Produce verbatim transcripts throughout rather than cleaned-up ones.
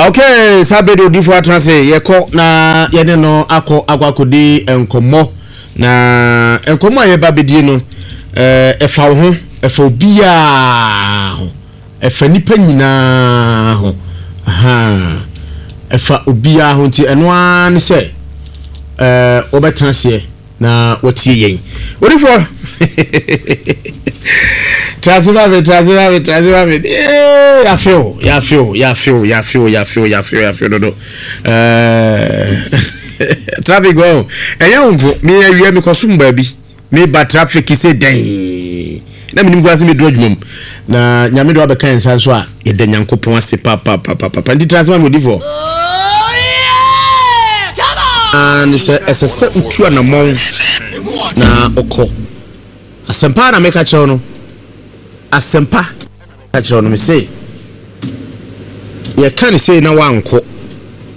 Okay, saa bere de odiifo atena ase, yɛkɔ na yɛne no akɔ akɔ akɔdi nkɔmmɔ. Na nkɔmmɔ a yɛba bɛdie no, ɛɛ ɛfa wo ho, ɛfa obiara ho, ɛfa nipa nyinaa ho, ahan, ɛfa obiara ho. Nti ɛno ara ne sɛ ɛɛ wɔbɛtena aseɛ na wɔtie yɛn. Odiifoɔ, trase ma me, trase ma me, trase ma me. Ee, yafe o, yafe o, yafe o, yafe o, yafe o, yafe o, yafe o dodo. Ɛɛ traffic wɔ ɛnyɛ wo nko. Me awia me kɔ som baabi, me ba, traffic sɛ dɛn na menim koraa sɛ meduru adwuma mu na Nyame de wabɛka yɛn nsa nso a, yɛda Nyankopɔn ase papapapapa. Nti trase ma me, odifoɔ. Ne sɛ ɛsɛ sɛ wotu anammɔn na ɔkɔ asɛmpa na meka kyerɛw no, asɛmpa ka kyerɛw no. Me se yɛka ne sei na wankɔ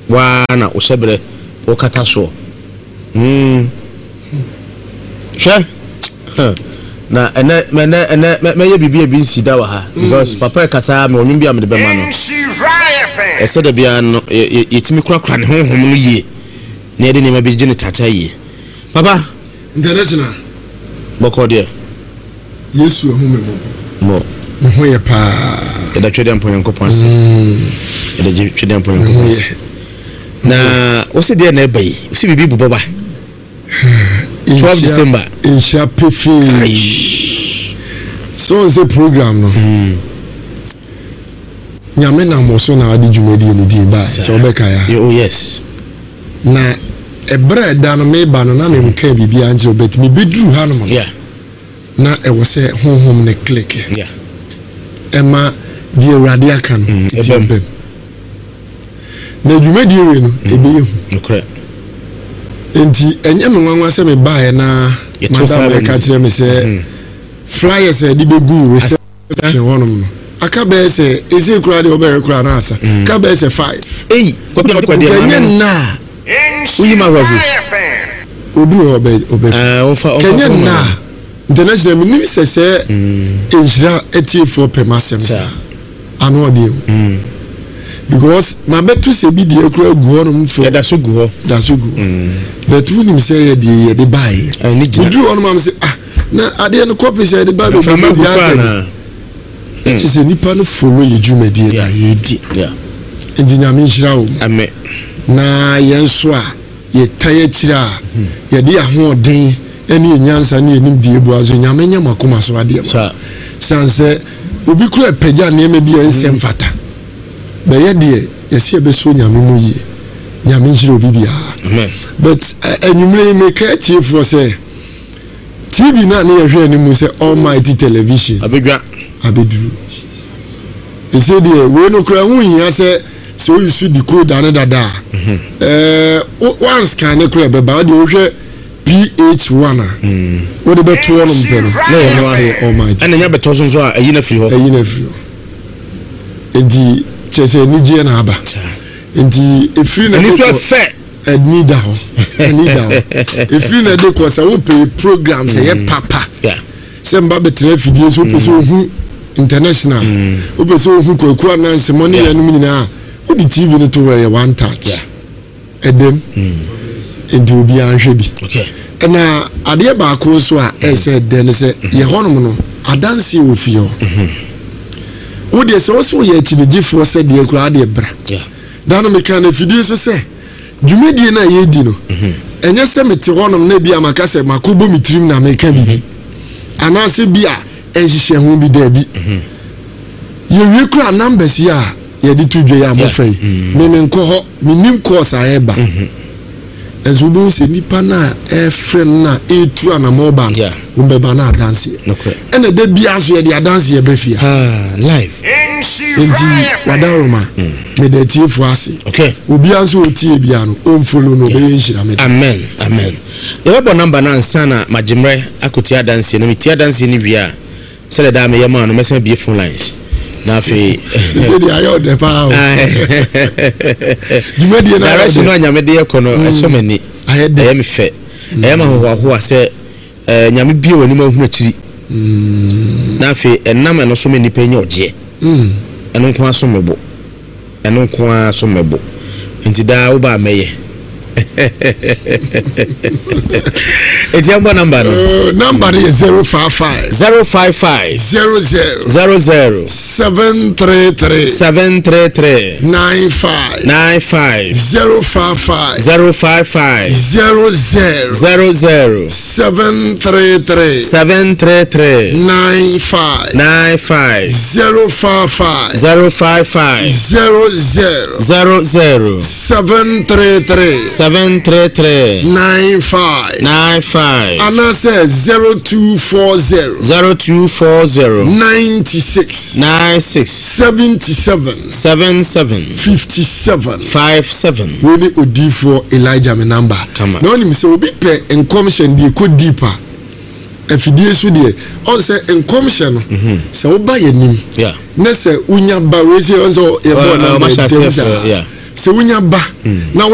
waa na wohyɛ berɛ wokata soɔ. Mm. Hwɛ, na ɛnɛ ɛnɛ ɛnɛ mɛyɛ biribi a bi nsi da wɔ ha because papa ɛkasa me ɔnwom bi a mede bɛma no. Ɛsɛ da biara no yɛtumi korakora ne honhom no yie na yɛde nneɛma bi gye ne tata yie. Papa. International. Bɔkɔ deɛ? Yesu ehu mi mɔbɔ. Mo. Me ho yɛ paa. Yɛda Twɛdeɛ Mpɔ Nyankopɔn ase. Yɛda Twɛdeɛ Mpɔ Nyankopɔn ase. Na wosi deɛ na ɛba yi, wosi biribi bobɔ ba twelve December. Nhyia pefee sɛ wɔn sɛ program no, Nyame nam wɔ so na ɔde dwumadie no din baa sɛ wɔbɛka ya. Oh yes. Na ɛberɛ a ɛda no meba no na menka biribiara nkyerɛ, but mebɛduru ha nom no Yeah. na ɛwɔ sɛ honhom ne click Yeah. ɛma deɛ Awurade aka no nti ɛbɛm. Ɛbɛm na dwumadie wei no ɛbɛyɛ hu. Nokorɛ. Nti ɛnyɛ me nwanwa sɛ mebaeɛ na Yɛto saa madam bɛ ɛka no. kyerɛ me sɛ flyers a yɛde bɛgu reception hɔnom no aka bɛyɛ sɛ ɛsei koraa deɛ wobɛyɛ koraa na asa ka bɛyɛ sɛ five. Ei, kɔpɛ na ɔde kɔ deɛ ɛnyɛ maame no. nna a Woyi ma ahwaku. Obi wɔ hɔ ɔbɛ ɔbɛ Ɛɛ, ɔmfa ɔmfa kɛnyɛ fɔm nna ma a international, menim sɛ sɛ nhyira atiefoɔ pɛ m'asɛm Saa. saa ano ɔdeɛ mu because mabɛto sɛ bi deɛ koraa gu hɔnom fo. Yɛda so gu hɔ. Da so gu hɔ, but wonim sɛ yɛdeɛ yɛde baeɛ Ɛne gyina. meduru hɔnom am sɛ, ah, na adeɛ no kɔpi sɛ yɛde ba mframa gu bebree koraa aka na bi kyɛ sɛ nipa no follow yɛ dwumadie na yɛdi. Yeah. Nti Nyame nhyira wo mu. Amen. Na yɛn nso a yɛtae akyire a yɛde ahoɔden ne yɛ nyansa ne yɛnim deɛ bua nso, Nyame nyɛ mo akoma so adeɛ ma Saa. siane sɛ obi kura pagya nneɛma bi a ɛnsɛ mfata bɛyɛ deɛ yɛsɛ yɛbɛsɔ Nyame mu yie. Nyame nhyira obi biara. Amen. But ɛ- anwummerɛ yi meka atiefoɔ sɛ T V no a ne yɛhwɛ anim sɛ Almighty Television abɛdwa. Abɛduru ɛsɛ deɛ wei no kora ho hia sɛ sɛ woyi so decoder ne dada a ɛɛ wo- wanscan ne kora ɛbɛba. Wode wohwɛ P H one a wode bɛto hɔ nom pɛ no na yɛ no a ɛyɛ Almighty. Ɛna nya bɛtɔ so nso a, ɛyi na firi hɔ. Ɛyi no afiri hɔ, nti kyerɛ sɛ anigyeɛ na aba. Saa. Nti ɛfiri na ɛni de so kɔ- ɛfɛ. Ɛni da hɔ, ɛni da hɔ. Ɛfiri na de kɔ sɛ wopɛ program sɛ yɛ papa Yeah. sɛ mba bɛtena afidie so, wopɛ sɛ ohu international, wopɛ sɛ ohu Kwaku Anansɛmɔ ne Yeah. yɛnom nyinaa, wode T V no to hɔ, ɛyɛ one touch. Yeah. Ɛdɛm nti obiara nhwɛ bi. Okay. Ɛna adeɛ baako nso a ɛsɛ ɛdɛ ne sɛ yɛ hɔnom no adanseɛ wɔ fie hɔ. Wodeɛ sɛ wo sɛ woyɛ akyinigyefoɔ sɛ deɛ koraa deɛ bra. Yeah. Da no meka no afidie so sɛ dwumadie no a yɛdi no, ɛnyɛ sɛ mete hɔnom na bi a maka sɛ makɔbɔ me tirim na meka biribi anaasɛ bi a ɛnhyehyɛ ho bi. Daabi, yɛwie kora numbers yi a yɛde to dwa yi a mofa yi, me menkɔ hɔ, menim course a ɛba. Ɛnso wobɛhu sɛ nnipa no a ɛfrɛ no no a ɛtu anammɔ ba no Yeah. wombɛba no adanseɛ. Nokorɛ. Ɛna da biara so yɛde adanseɛ ba fie. Ah, live. Nti wadaroma, meda atiefoɔ ase. Okay. Obiara nso ɔtie bia no ɔmfollow no, ɔbɛyɛ nhyira. Meda ase. Amen, amen. Yɛbɛbɔ number no ansa na magye mmerɛ akɔtie adanseɛ no. Metie adanseɛ no wie a, sɛdeɛ daa meyɛ maa no, mɛsan bie phone lines na afei sɛ deɛ ayɛ ɔdɛ paa o, dwumadie no ayɛ direction no ɔdɛ. a Nyame de yɛkɔ no ɛsɔ m'ani. Ayɛ dɛ. Ɛyɛ me fɛ, ɛyɛ ma ahohoahoa sɛ eh, Nyame bie w'anim ahunu akyiri na afei ɛnam ɛno so ma nnipa nya ɔgyeɛ. Ɛno nko aso me bo. Ɛno nko ara so mɛbɔ, nti daa woba a mɛyɛ. Eti ɛmbɔ number no. Uh, number no yɛ zero five five zero five five zero zero zero zero seven three three seven three three nine five nine five zero five five zero five five zero zero zero zero seven three three seven three three nine five nine five zero five five zero five five zero zero zero zero seven three three seven three three nine five nine five anaasɛ zero two four zero zero two four zero ninety-six nine six seventy-seven seven seven fifty-seven five seven. Wei ne Odiifoɔ Elijah me number. Kama. Na wonim sɛ obi pɛ nkɔmhyɛ deɛ ɛkɔ deep a, afidie so deɛ, ɔn sɛ nkɔmhyɛ no sɛ woba yɛ nim Yeah. na sɛ wonya ba wei sɛ ɔn sɛ yɛbɔ Ɔ- ɔ- number ɔmahyɛ ntɛm aseɛ saa frɛ, yeah. sɛ wonya ba na wote